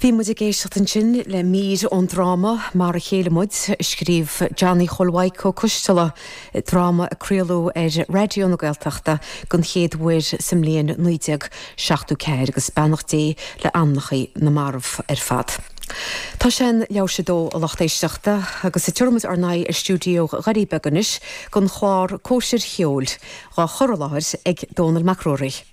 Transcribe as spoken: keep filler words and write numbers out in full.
Bhí muid ag éisteacht ansin le mír ón dráma Mar a Chéile Muid a scríobh Johnny Chóil Mhaidhc Ó Coistealbha dráma a craoladh ar Raidió na Gaeltachta den chéad uair sa mbliain naoi déag seachtó ceathair agus beannacht Dé le anamnacha na marbh ar fad. Tá sé an leathuair tar éis a dó a lucht éisteachta agus tabharfaimid ár n-aghaidh ar stiúideo Dhoirí Beaga anois don chlár Cóisir Cheoil, á chur i láthair ag Dónal Mac Ruairí.